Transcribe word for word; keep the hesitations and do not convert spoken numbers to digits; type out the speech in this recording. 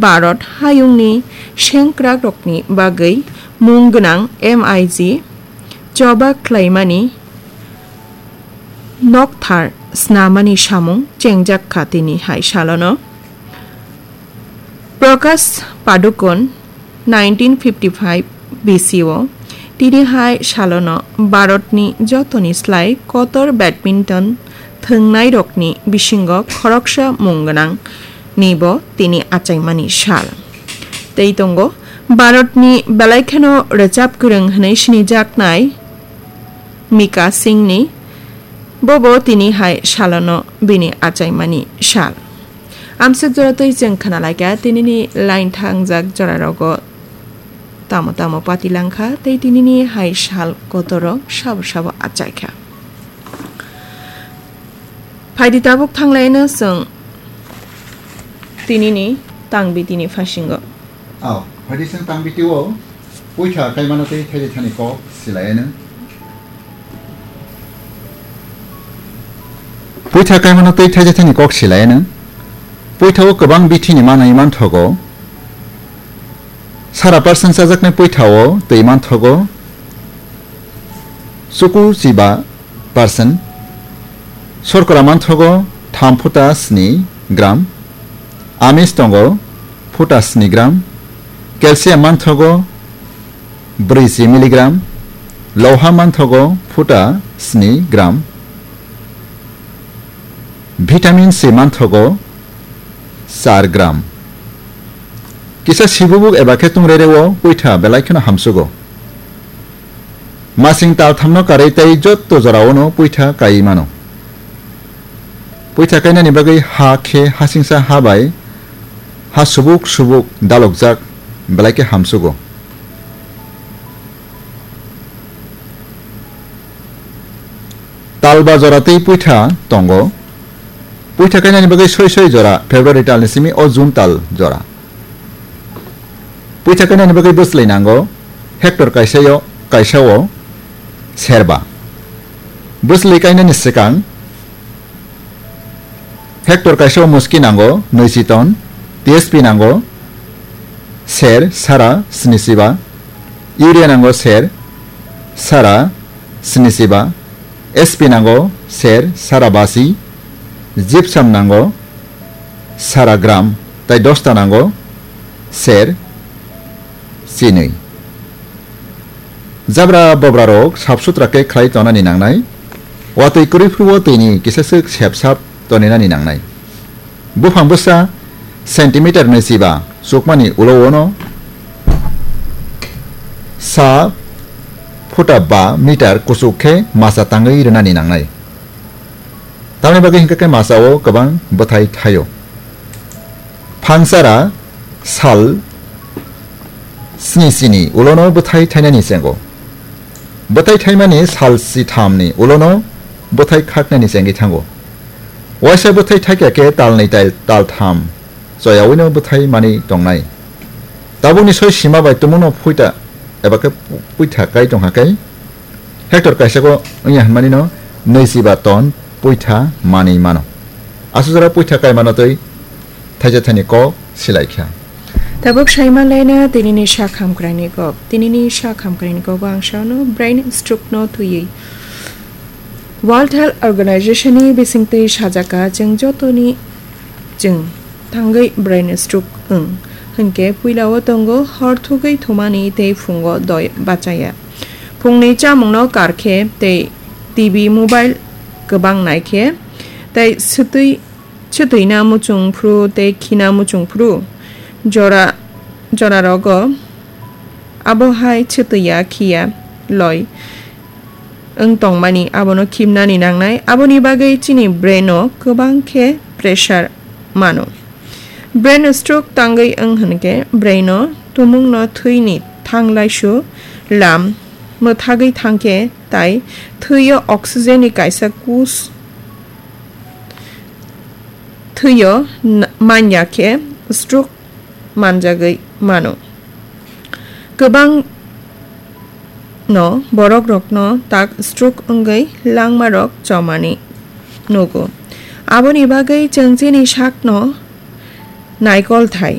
Bharat hayungni sengkrakrokni bagwi mung gwnang M I G choba khlaimani nokthar snamani samung chengjak kha tini hai salono. Prakash Padukone nineteen fifty-five B C o tini hai salono Bharatni jotoni slai kotor badminton thwngnairokni bisingo khoroksa mung gwnang nibo tini achaimani sal. Tei tongo Bharatni belai kheno rwchap kwrwng hwnwi sinijaknai Mika Singhni, bobo tini hai salono bini achaimani sal. Amswk jora twi chwng khna laikha, tinini line thangjak jorarogo tamo tamo pati langkha, tei tinini hai sal kotoro sabo sabo achaikha. Phaidi tabuk thanglaino chwng tinini tangbitini phasingo. Ao, phaidi chwng tangbitio puitha kaimano tei thaijai thani kok silaino. Puitha kaimano tei thaijai thani kok silaino. Puithao kwbang bithini manwi manthogo. Sara percent chajaknai puithao twi manthogo chuku chiba percent. Sorkora manthogo tham phuta sni gram. Amis tongo phuta sni gram. Calcium manthogo brwi chi milligram. Loha manthogo phuta sni gram. Vitamin C manthogo char gram. Kisa sibubuk eba khe tungreireo puitha belai kheno hamsugo. Masing talthamno karwi tei jotto joraono puitha kaiwi mano. Puitha kainani bagwi ha khe hasingsa ha bai ha subuk subuk dalokjak belai khe hamsugo. Talba jora tei puitha tongo. Puitha kainani bagwi soi soi jora February talni simi o June tal jora. Puitha kainani bagwi bwslwi nango hectare kaisao, kaisao serba. Bwslwi kainani swkang hectare kaisao muski nango nwichi ton, T S P nango ser sara snisiba, urea nango ser sara snisiba, S P nango ser sara basi, gypsum nango sara gram, tai dosta nango ser chinwi. Jabra bobrarok sap sutra khe khlai tonani nangnai. Watwi kwrwi phuru o twini kisa swk sep sap toninani nangnai. Buphang bwsa centimeter nwichiba chukmani ulo-o no sa phuta ba meter kuchuk khe masa tangwi rwnani nangnai. Tamni bagwi hwnkhe khe masa-o kwbang bwthai thaio. Phangsara sal sni sini ulono bwthai thainani chengo. Bwthai thaimani sal sithamni ulono bwthai khaknani chengwi thango. Waisa bwthai thaikya khe talnwi tai taltham choyawino bwthai mani tongnai. Tabukni soi sima bai tumungno phuita eba khe puitha kai tongkha khe hectare kaisako wngya hwnmani no nwichiba ton puitha manwi mano. Aswk jora puitha kaimano twi thaisa thani kok silaikha. Tabuk saima laina tinini sak hamkraini kok. Tinini sak hamkraini kogo ang saono brain stroke no twiwi World Health Organization ni bisingtwi sajaka chwng jotoni chwng tangwi brain stroke wng. Hinkhe puilao tongo hor thugwi thumani tei phungo doi bachaya. Phungni chamungno karkhe tei T V mobile kwbang naikhe tei swtwi, swtwina muchung phru tei khina muchung phru jora, jorarogo abo hai swtwiya khiya loi wng tongmani abono khimnani nangnai. Aboni bagwi chini brain o kwbang khe pressure mano. Brain stroke tangwi wng hwnkhe brain o tumungno thwini thanglaisu lam mwthagwi thangkhe tai thwio oxygen ni kaisa kus thwio n-, manya khe stroke manjagwi mano. Kwbang no borok rokno tak stroke wngwi langma rok chomani nugo. Aboni bagwi chwng chini sakno naikol thai